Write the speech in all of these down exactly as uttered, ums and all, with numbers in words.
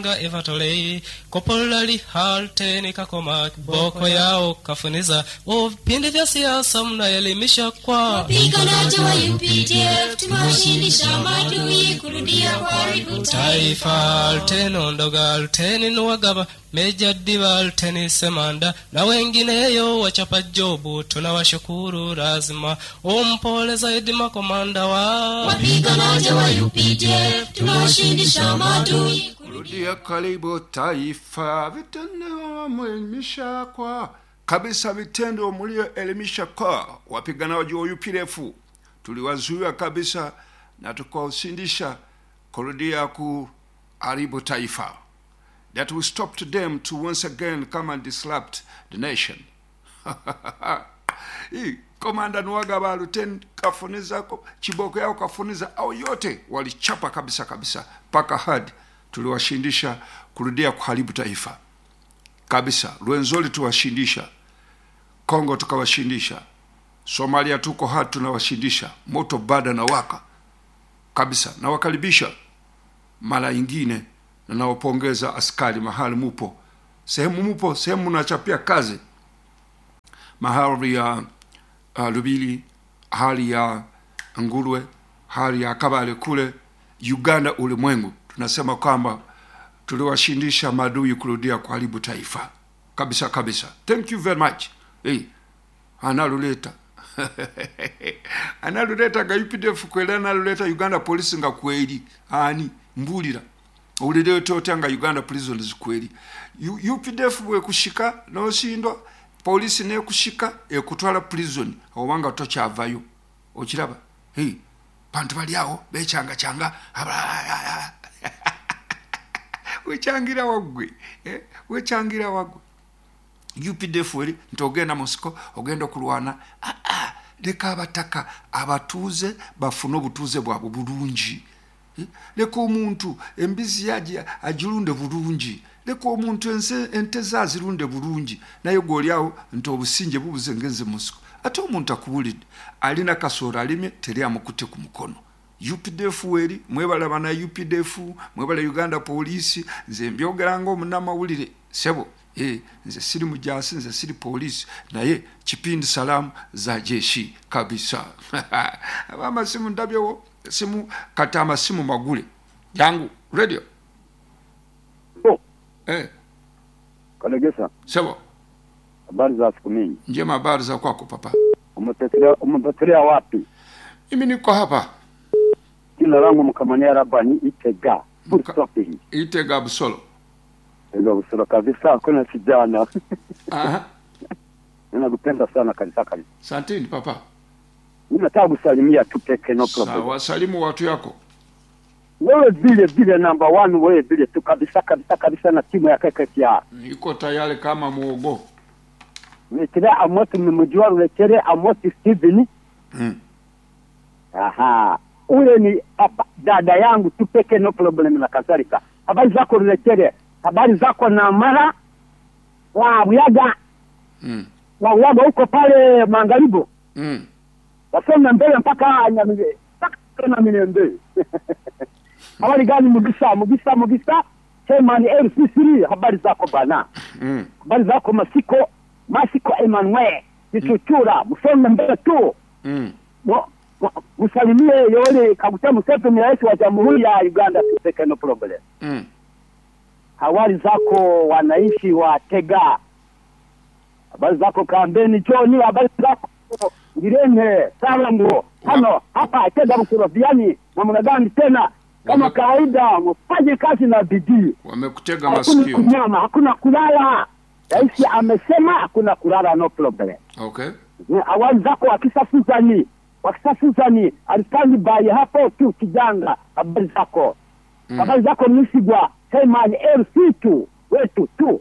Evatolei Kopolali Halteni Kakoma Boko yao kafuniza vipindi vya siasa mnaelimisha kwa Wapiganaji wa U P D F tumewashindisha maadui kurudia kuharibu taifa. Alteni Ondoga, Alteni Nuwagaba, Meja Diba, Alteni Semanda na wengineyo wachapa jobu, tunawashukuru lazima umpole zaidi makomanda wa wapiganaji wa U P D F tumewashindisha maadui kurudia karibu taifa. Vitendo mlielimisha kwa kabisa, vitendo mlioelimisha kwa wapiganaji wa U P D F tuliwazuia kabisa na tukawashindisha kurudia kuharibu taifa. That we stopped them to once again come and disrupt the nation. Hii Komanda Nuwagaba, Luteni Kafuniza, Chiboko yao Kafuniza, au yote walichapa kabisa kabisa mpaka hadi tuliwashindisha kurudia kuharibu taifa kabisa. Rwenzori tuwashindisha, Kongo tukawashindisha, Somalia tuko hadi tunawashindisha, moto bado na waka kabisa. Nawakaribisha mara nyingine na nawapongeza askari mahali mupo, sehemu mupo, sehemu mnachapia kazi, mahali ya uh, Lubili, hali ya Ngulwe, hali ya Kabale kule Uganda, ulimwengu tunasema kwamba tuliwashindisha maadui kurudia kuharibu taifa kabisa kabisa. Thank you very much. Hey, analuleta analuleta ga U P D F kweli, analuleta Uganda police nga kweli ani mbulira ulile tote nga Uganda prisons kweli. U P D F bwe kushika noshindwa polisi ne kushika ekutwala prison obanga tokyavayo okiraba. Hey, bantu bali awo bechanga changa wechangira wagwe eh, wechangira wagwe. U P D F eri nti ogenda Moscow ogenda okulwana. Ah, ah, leka abataka abatuuze bafune obutuuze bwabwe bulungi. Eh, leka omuntu embizi yaje agirunde bulungi, leka omuntu ense ente zazirunde bulungi, naye gwoli awo nti obusinge bubuze ngenze Moscow. Ate omuntu akubulidde alina kasoro alimye teri amukute ku mukono. U P D F weri mwebala bana U P D F, mwebala Uganda police, nze mbyogera ngo munnamawulire sebo. Eh, nze siri mujasi, nze siri polisi, naye kipindi salamu za jeshi kabisa. Abamasimu ndabyewo simu kata amasimu magule yangu radio. Oh. Eh. Kalegesa. Sebo. Habari za siku mingi. Njema, habari za kwako papa? Umepotelea, umepotelea wapi? Mimi niko hapa. Jina langu Mkamanya Rabani Itega. Full stop hii. Itega Busolo. Itega Busolo kabisa, kuna kijana. Aha. Ninakupenda sana kabisa kabisa. Asanteni papa. Mimi nataka kusalimia tu peke, no problem. Sawa, salimu watu yako. Wewe vile vile number one, wewe vile tu kabisa kabisa kabisa na timu ya K K T R. Niko tayari kama muogo. Nikirea Amosi mmejua Rulechere Amosi Steven. Mm. Aha. Ule ni apa, dada yangu tu peke, no problem na kadhalika. Habari zako Rulechere? Habari zako na mara wa Buyaga. Mm. Wa Buyaga huko pale Mangaribo. Mm. Wasonga mbele mpaka Nyamire. Mpaka na Mirembe. Habari gani Mugisa? Mugisa, Mugisa. Chairman L C three, habari zako bana? Mm. Habari zako Masiko? Masiko Emmanuel Kichuchura, msonga mbele tu. Mm. Mo, mo, msalimie Yoweri Kaguta Museveni, rais wa Jamhuri ya Uganda, tuseke no problem. Mm. Habari zako wananchi wa Tega? Habari zako Kambeni John? Habari zako Ngirene Salango? Hano hapa Tega Mkuroviani namna gani tena? Kama Wame- kawaida mfanye kazi na bidii. Wamekutega Hakuna masikio. kunyama, hakuna kulala. Rais amesema hakuna kulala, no problem. Okay. Awali zako wakisafuzani, wakisafuzani alistandi by hapo tu kijanga. Habari zako. Mm. Habari zako Msigwa, Chairman L C tu wetu tu.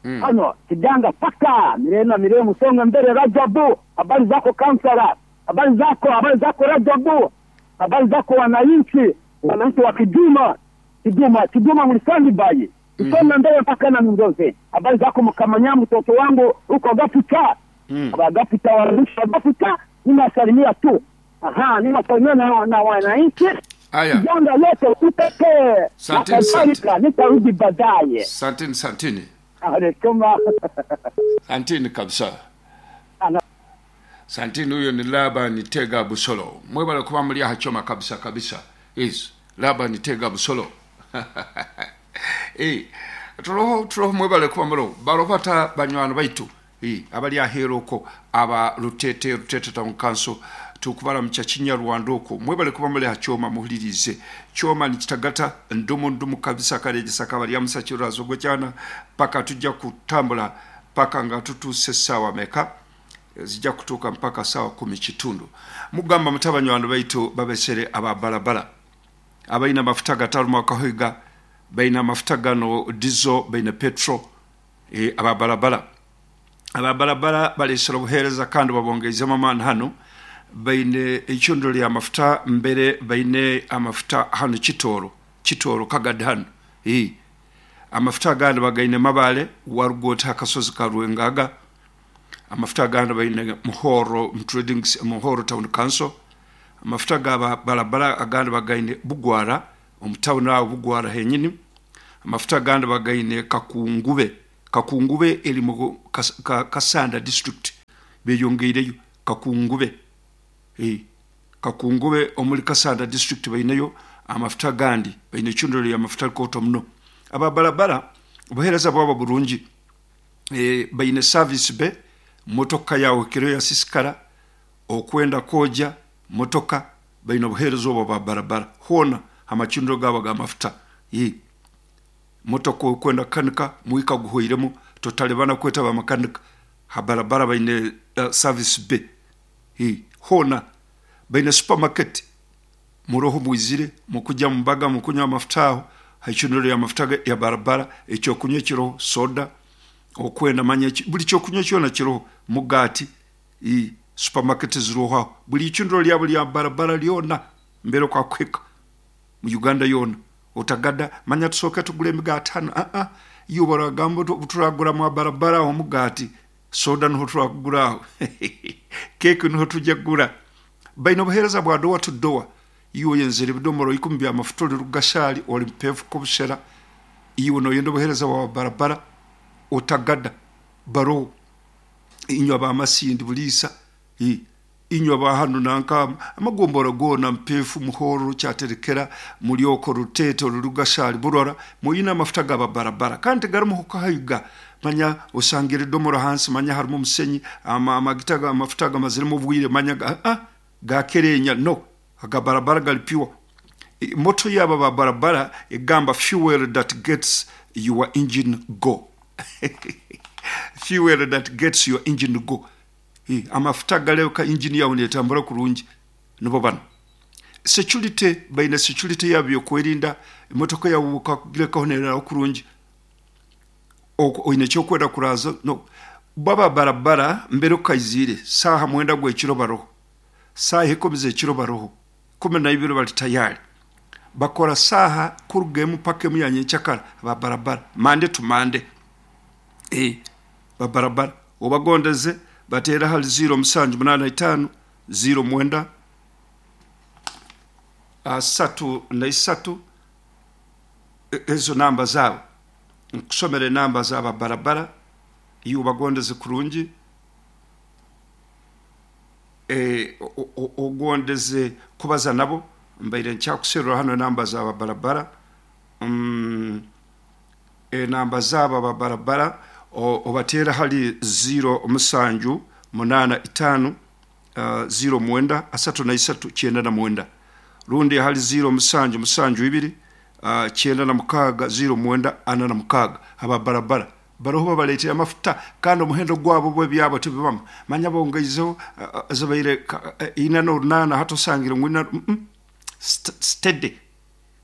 Mm. Hano kijanga paka mirena mirena musonga mbele Rajabu. Habari zako kansala. Habari zako, habari zako Rajabu. Habari zako wananchi, wananchi wa Kiduma. Kiduma, Kiduma mlisandi by. Musonga mbele mpaka na Mingoze. Habari zako Mkamanya, mtoto wangu huko Gafuta. Mm. Gafuta wananchi wa Gafuta, ninasalimia tu. Aha, ninasalimia na, na wananchi. Aya. Janga yote utekee na Santini, santini. kadhalika. Nitarudi baadaye. Santini, santini. Anasema Santini kabisa. ana Santini huyo ni Laban Tega Busolo. Mwebale kuba muli hachoma kabisa kabisa. Yes, Laban Tega Busolo. Eh, turoho turoho mwebale kuba mulo. Baropata banywano baitu. Eh, abali ahero ko aba Rutete Rutete Town Council tukubala mu Kinyarwanda okwo. Mwebale kuba muli hachoma muhulirize. Choma ni kitagata ndumu ndumu kabisa kalegesa kabali ya musakiro azogwe cyana paka tujja kutambula paka nga tutuuse essaawa meka zijja kutuuka mpaka saawa kumi kitundu. Mugamba mutabanywandu baitu babesere aba barabara abalina amafuta gatalumu akahoiga, balina amafuta gano diesel, balina petrol, e, aba barabara aba barabara balesera obuheereza kandi babongeizemu amaani hano. Baine eicundo lya mafuta mbere, baine amafuta hano Kitooro Kitooro Kagadi hano. E, amafuta agandi bagaine Mabale warugota akasozi ka Rwengaga. Amafuta agandi baine Muhoro mu trading Muhoro Town Council. Amafuta ga barabara agandi bagaine Bugwara omu town aho Bugwara henyini. Amafuta agandi bagaine Kakungube Kakungube eri mu Kas- Ka- Kasanda district, beyongeireyo Kakungube. E, Kakungube omuri Kasanda district baineyo amafuta agandi, baine eicundiro lya mafuta rikooto muno. Aba barabara obuheereza bwabo burungi. E, baine service be motoka yawe kiro yasisikara okwenda koja motoka, baine obuheereza obwo bwa barabara hoona amacundiro gabo ga mafuta. E, motoka okwenda kukanika mwika guhweiremu totalibana kweta bamakanika ha barabara baine uh, service be. E, hoona baine supermarket muroho mwizire mukujja mumbaga mukunywa amafuta aho haicundiro ya mafuta ya barabara, ekyokunywa kiroho soda okwenda manya eki- buli kyokunywa kyona kiroho mugati. I supermarket ziroho aho buli icundiro lyabo lya barabara lyona mbere kwa kweka mu Uganda yona otagada manya tusooke tugule emigati hano. Ah ah, iyo baragamba turagura mu barabara aho mugati soda niho turakugura aho keke niho tujya kugura. Baine obuheereza bwa dowa to dowa. Iwe oyenzere ebidomoro ikumi bya mafuta ori rugashali ori mpefu kobushera, iwe noyenda obuheereza bwa barabara otagada baroho inywa ba Masindi buliisa, i inywa ba hano nanka amagombora gona Mpefu Muhoro Kyaterekera Mulyoko Rutete Rugashali Burora muyina amafuta gaba barabara kandi garimu hukahayiga manya osangira edomoro hansi manya harimu omusenyi ama amagita ga amafuta gamaziremu obwire manya ga, ah, gakerenya no aga barabara gali pure. I- moto yaba ba barabara egamba fuel that gets your engine go, fuel that gets your engine go. Eh, amafuta galeka engine yawe netambura kurungi nibo bano. Security baine security yabo yokwerinda emotoka yawe ukagirekaho nereraho kurungi oine ekyokwenda kuraza no baba barabara mbere ukaizire saha mwenda gwekiro baroho saha ikumi zekiro baroho kumi na ibiri bali tayari bakora saha kurugemu paka emu ya nyenkyakara ba barabara mande to mande. E babarabara obagondeze bateera hali ziro musanju munana itaano ziro mwenda asatu na isatu. E- ezo namba zaabo nkusomera enamba zaba barabara iyo obagondeze kurungi. E, o- o- ogondeze kubaza nabo mbaire nkyakuserura hano enamba zaba barabara mm, enamba zaba babarabara obateera hali ziro musanju munana itaano uh, ziro mwenda asatu na isatu kyenda na mwenda rundi hali ziro musanju musanju ibiri uh, kyenda na mukaaga ziro mwenda ana na mukaaga. Aba barabara baroho babaleetera amafuta kandi omuhendo gwabo bwebyabo tebibamu manya bongeizeho uh, uh, zibaire ka- uh, ina n'orunaana hati osangire ngu ina mm -mm, st- steady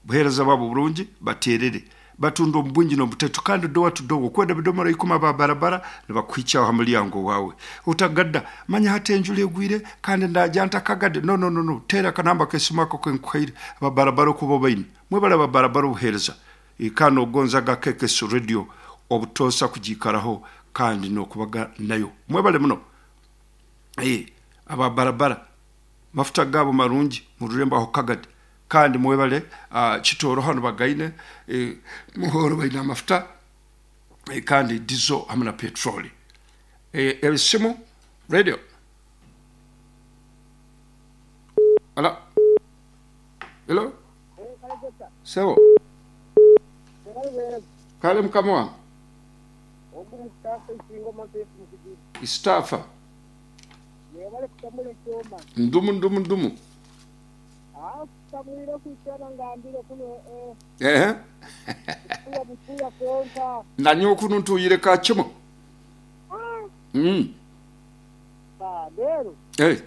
buheereza bwabo burungi baterere batunda omu bwingi n'obuteto kandi dowa to dowa okwenda bidomora ikumi aba barabara nibakuhikyaho ha mulyango wawe utagadda manya hati enjura egwire kandi ndaja ntakagadde no no no no teera akanamba kesimu ako kenkuhaire aba barabara okuba baine mwebale aba barabara obuheereza. E, kandi ogonzaga K K S Radio obutosa kugiikaraho kandi n'okubaga nayo mwebale muno. E, aba barabara mafuta gabo marungi mu rurembo aho Kagadi. Kandi mwebale uh, Kitooro hano bagaine eh, Muhoro baine amafuta eh, kandi diesel hamwe na petroli. Eh, ebisimu radio. Ala. Hello. Sebo. Kale mukama wange. Istafa. Ndumu ndumu ndumu. Eh. Nanyo kuno ntuyire ka kimo. Mm. Rero. Eh.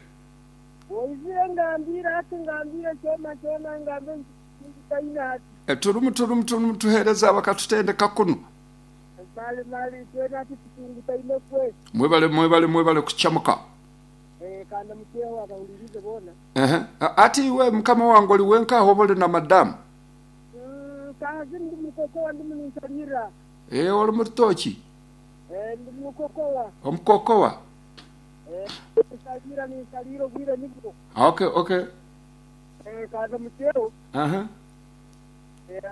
Oizire ngambira ati ngambira kyoma kyoma ngambira nditaina hati. E turumu turumu turumu tuhereza bakatutendeka kuno. Mali mali twena ati tutungutaine kwe. Mwebale mwebale mwebale kuchamuka. Eh kanda mutyeho abahulirize bona. Eh ati iwe mukama wange oli wenka aho boli na madamu. Mm kazi ndi mukokowa ndi munsalira. Eh oli mutoki. Eh ndi mukokowa. Omukokowa. Eh nsalira ni nsaliro bwire nibwo. Okay okay. Eh kanda mutyeho. Aha. Eh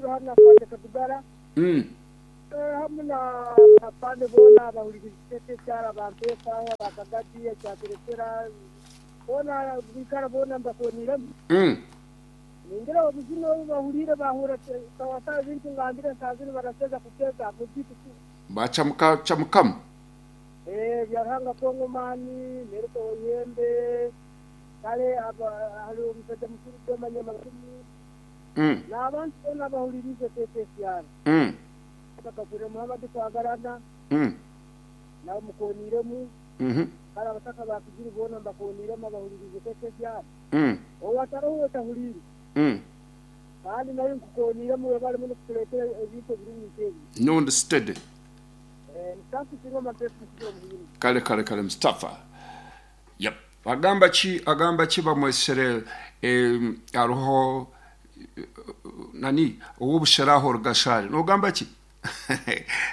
hano kwate katugara. Mm. Hamwe na bapande bona bahulirize cyara bampesa bakagati cyaterekera bona bikara bona mbakoniramo. Mm. Ningira obuzino bahulire bahura kawasa bintu ngambira sazini baraseza kuteza mubitu. Bachamuka chamukamu. Eh byaranga Kongo mani nereko yembe kale aba hali omusajja mukuru gw'amanyama makumi. Mm. N'abantu bona bahulirize T T C R. Mm. Kakure Muhammad kwagarana. Mm. Na mukoniremu. Mhm. Kala bataka bakugiri bona mbakoniremu abahulirize T T C R. Mm. Owataraho tahuliri. Mm. Kandi nayo nkukoniremu webale muno kutuleetera ebintu ebirungi nk'ebi. Nundi steady. Eh nsafi singo matefu kugira muhimu. Kale kale kale Mustafa. Yep. Agamba ki agamba ki bamwesere eh aroho nani obusheraho rugashari. Nogamba ki?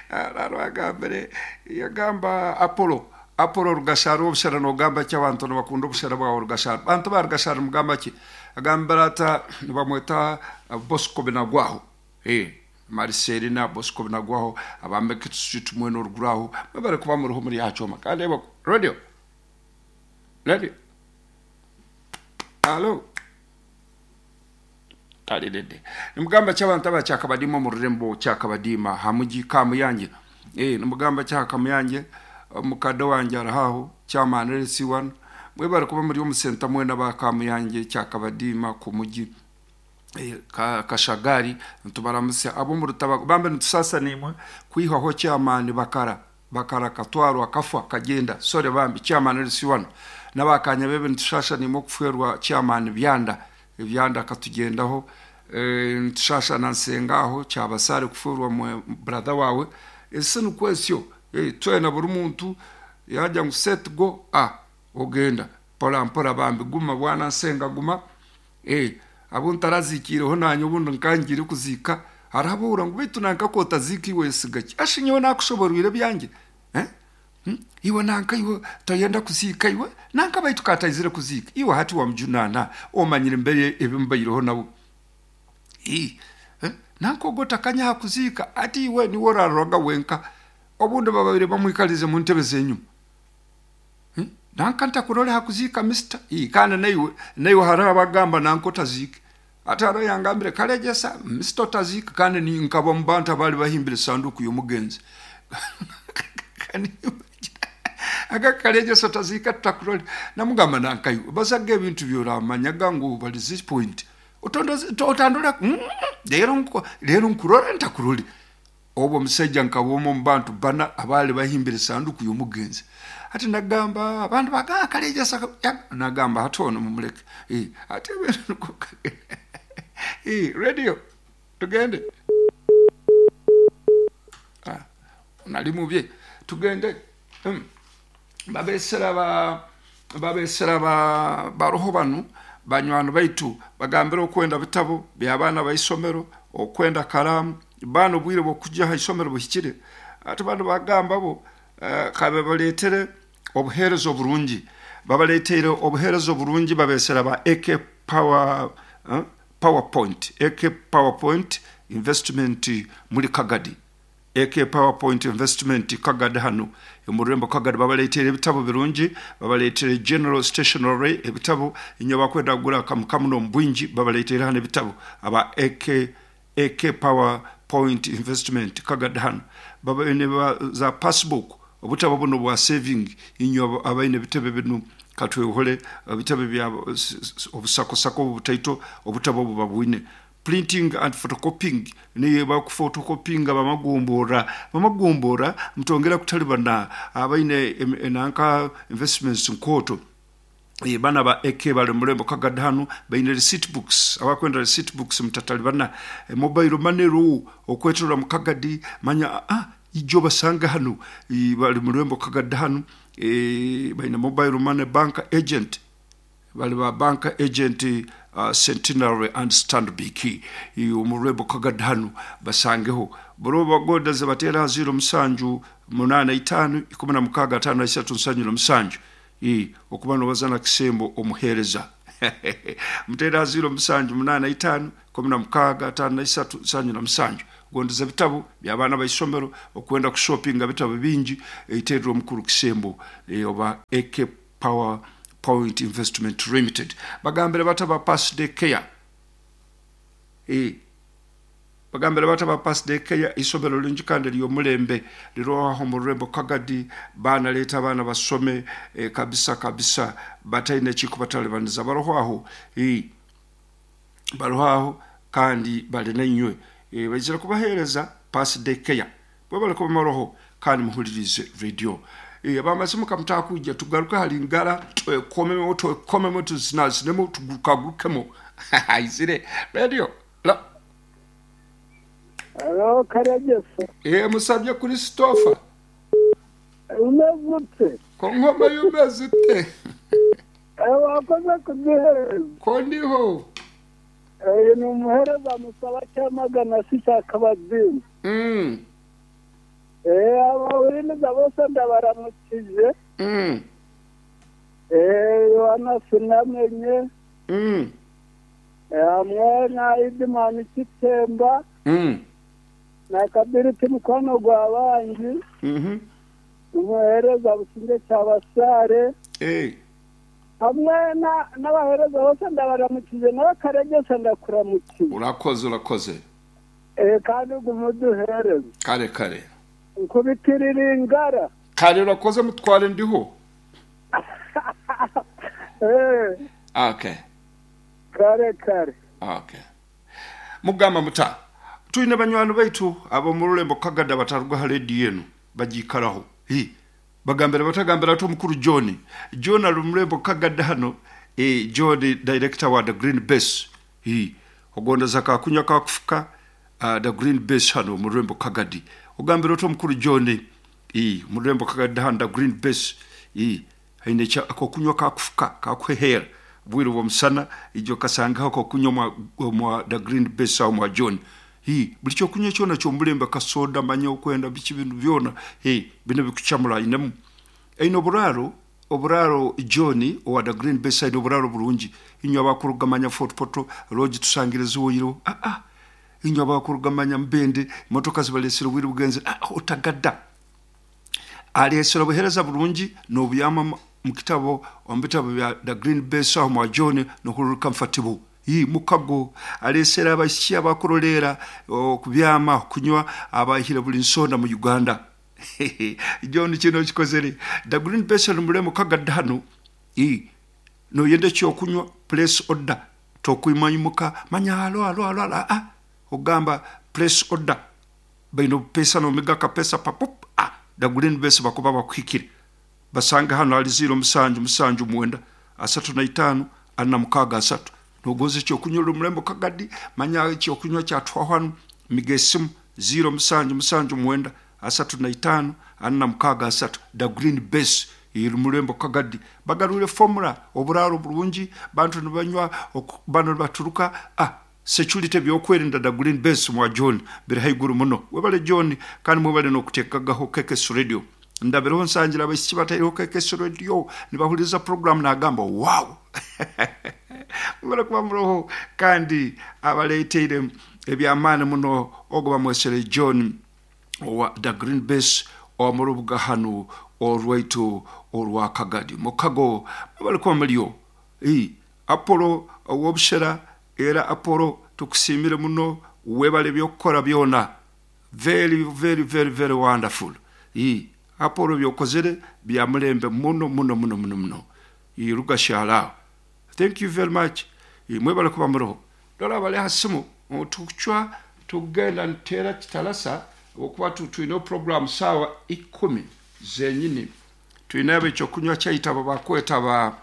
Araro agambere yagamba Apollo Apollo rugashari obushera nogamba ki abantu nabakunda obushera bwa rugashari. Bantu ba rugashari mugamba ki? Agambira ata bamweta Bosco Binagwaho. Eh Marcelina Bosco Binagwaho abambe kitsutu mweno ruguraho babare kuba mu ruho muri yacoma kandi radio radio. Allo. Talidede. Nimugamba cy'abantu abacyakabadima mu rurembo cyakabadima hamugi kamuyange. Eh nimugamba cyakamuyange mukado wanjye arahaho cyamanere C one mwebare kuba muri omusenta mwena bakamuyange cyakabadima ku mugi eh ka, kashagari ntubaramuse abo mu rutaba bambe ntusasa nimwe kwihaho cyamani bakara bakara katwaro akafa kagenda sore bambi cyamanere C one nabakanya bebe ntushasha nimwe kuferwa cyamani byanda ibyanda katugendaho eh ntushasha nansengaho cyabasare kufurwa mu brother wawe ese nukwesyo eh twena buri muntu yajya ngo set go ah ogenda pola mpora bambi guma bwana nsenga guma eh abo ntarazikireho nanyo bundi nkangire kuzika arabura ngo bitu nanka kota ziki wese gaki ashinyewe nakushoborwire byanjye eh hmm? Iwe nanka iwe tayenda kuzika iwe nanka baitu katayizire kuzika iwe hati wa mjunana omanyire mbere ebimbayireho nabo eh eh? Nanka ogota kanya hakuzika ati iwe ni woraroga wenka obundi bababire bamwikalize mu ntebe zenyuma hmm? Nanka ntakurole hakuzika mister eh kana naiwe naiwe harabagamba nanko tazika ataro yangambire kalejesa mister tazika kandi ni nkaba mubanta bali bahimbire sanduku y'omugenzi kani aga kalejesa tazika tutakurole namugamba nankayo bazaga ebintu byoramanyaga ngo bali this point otondoze otandora lero nko lero nkurora ntakurole obwo musajja nkabomo mubantu bana abali bahimbire sanduku y'omugenzi ati nagamba abantu baga kalejesa nagamba hatono mumuleke eh ate eh radio tugende ah nali mubye tugende mm. Babesera ba babesera ba baroho banu banywano baitu bagambira okwenda bitabo by'abaana baisomero okwenda kalamu bano bwire bokujja ha isomero buhikire ate bano bagamba bo uh, kabe baletere obuherezo burungi babaletere obuherezo burungi babesera ba A K Power uh, PowerPoint, A K PowerPoint Investment muri Kagadi, A K PowerPoint Investment Kagadi hano omururembo Kagadi. Babaleetera ebitabo birungi, babaleetera general stationery, ebitabo inyo bakwenda kugura kamukamuno omu bwingi, babaleetera hano ebitabo aba A K, A K PowerPoint Investment Kagadi hano. Babaine ba, za passbook, obutabo buno bwa saving, inyo abaine ebitebe bino katwehole ebitebe bya obusakosako obutaito, obutabo obu babwine. Printing and photocopying, niye bakufotocopyinga bamagombora bamagombora mutongera kutalibana abaine enanka investments nkoto. E, bana ba A K bali mulembo Kagadi hano, baine receipt books, abakwenda receipt books mutatalibana. E, mobile money ru okwetura mu Kagadi, manya ah, ijo basanga hano. E, bali mulembo Kagadi hano. E, baine mobile money, bank agent, bali ba bank agent uh, Centenary and Stanbic omurwebo Kagadi hano basangeho. Bro bagodaze batera ziro musanju munana itano ikumi na mukaga atano na isatu nsanju na musanju. E, okuba nobazana kisembo omuhereza mutera ziro musanju munana itano kumi na mukaga atano na isatu nsanju na musanju. Gondeza ebitabo by'abaana baisomero, okwenda kushopinga bitabo bingi, eiterwa omukuru kisembo e, oba A K Power Point Investment Limited. Bagambire bataba Pass Day Care, e, bagambire bataba Pass Day Care, isomero lingi kandi ly'omulembe liroaho mu rurembo Kagadi. Baana leeta abaana basome e, kabisa kabisa, bataine ekikubatalibaniza. Baroho aho, e, baroho aho kandi bali nainywe. E, baizire kubaheereza Pass Day Care bwe bali kubamaroho. Kandi muhulirize radio. E, abamasimu kamutakuja tugaruke hali ngara twekomemo twekomemo tuzinazinemo tugukagukemo aizire radio la. Alo, Karegesa. E, musabye Christopher. Umeze ute? Ko nkoma yumeze ute? Eh, wakoze kuduhereza. Ko ndiho. Eh, ni umuhereza musaba cyamagana si cya kabazini. mm. Eh, abawurimiza bose ndabaramukije. Mm. Eh, Yohana sinamenye. Mm. Eh, hamwe na Idimani Kitemba Mm. na Kabiriti mukono gwa bangi. Mhm. Umuhereza Businge cyabasare. Eh. Hamwe na n'abahereza bose ndabaramukije, nawe Karegesa ndakuramukije. Urakoze, urakoze. Eh, kandi gumuduhereza. Kare kare. Nkubitirira ingara. Kare, urakoze mutware, ndiho. Eh, okay. Kare kare. Okay, mugamba muta tulina banywani baitu ab'omu rurembo Kagada bataruga ha rediyo enu bagiikaraho. Hi, bagambira batagambira ati omukuru John, John ari murembo Kagada hano. E, John director wa The Green Base. Hi, ogondeza kakunywa kakufuka, uh, The Green Base hano mu rurembo Kagadi. Ogambira oti omukuru John, e, mu rurembo Kagadi hano, The Green Base, e, haine akokunywa kakufuka kakuhehera bwire bw'omusana, ijo kasangaho akokunywa mwa, mwa The Green Base aho mwa John. Hi, buli kyokunywa kyona kyomulembe, kasoda, manya okwenda biki, bintu byona, hi, bino bikucamura inemu. Aine oburaaro, oburaaro John owa The Green Base aine oburaaro burungi. Inywe abakurugamanya Fort Portal lodge tusangire ziwoyiro, ah, ah. Inywe abakurugamanya Mbende, motoka zibalesere obwire bugenze, ah, otagadda alesera obuhereza burungi n'obuyama mu kitabo, omu bitabo bya The Green Base aho mwa John nohururu comfortable. Yi mukago alesera abaishiki abakurolera okubyama kunywa abahire buli nsonda mu Uganda. John kino kikozere The Green Base muremo Kagadda hano. I noyenda ekyokunywa, place order, tokwimanyimuka manya alo alo alo alo, ah, ogamba place order, baino pesa nomiga kapesa papup, ah, The Green Base bakuba bakuhikire. Basanga hano ali ziro musanju musanju mwenda asatu na itano ana mukaaga asatu. Nogoza ekyokunywa ori murembo Kagadi, manya ekyokunywa kyatwaho hano, miga esimu ziro musanju musanju mwenda asatu na itano ana mukaaga asatu. The Green Base iri murembo Kagadi. Bagarure formula, oburaaro burungi, bantu nibanywa bano nibaturuka, ah, security, byokwerinda, The Green Base mwa John biri haiguru muno. Webale John, kandi mwebale nokutekagaho K K S Radio. Ndabireho nsangira abaishiki bataireho K K S Radio nibahuriza program, nagamba wow. Mwebale kuba muroho, kandi abaleeteire ebyamaani muno ogo bamwesere John owa the Green Base omurubuga hanu orwaitu orwa Kagadi mukago. Mwebale kuba muriyo. Apollo ow'obushera, era Apollo tukusiimire muno, webale byokukora byona, very very very very wonderful. Apollo byokozere bya mulembe muno muno muno muno muno. Rugashyara, thank you very much. Mwebale kuba muroho. Dora bali ha simu tukucwa tugenda nteera kitarasa okuba twine program saawa ikumi zenyini, twine ekyokunywa kyaitu abo bakweta ba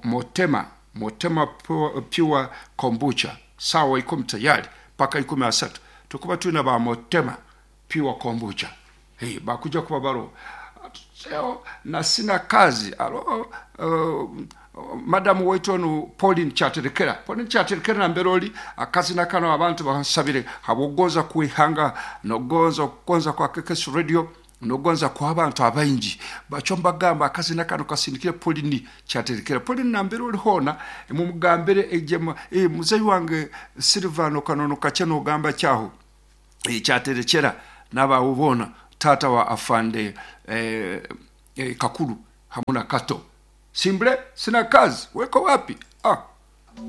Motema Motema Pure Kombucha, saawa ikumi tayari paka ikumi asatu tukuba twine ba Motema Pure Kombucha. Hey, bakuja kuba baro na sina kazi alo. Uh, madamu waitu onu Pauline Kyaterekera, Pauline Kyaterekera nambere oli akazina kano abantu bansabire habwogonza kwihanga nogonza okugonza kwa K K S Radio nogonza kwa abantu abaingi bacho mbagamba akazina kano kasindikire Pauline Kyaterekera. Pauline, nambere oli hona mumugambire ejema e, muzeyi wange Silvano kanono kache nogamba kyaho e, Kyaterekera n'abawubona tata wa afande eh, eh, Kakuru hamuna Kato Simble, sina kazi, weko wapi? Ah,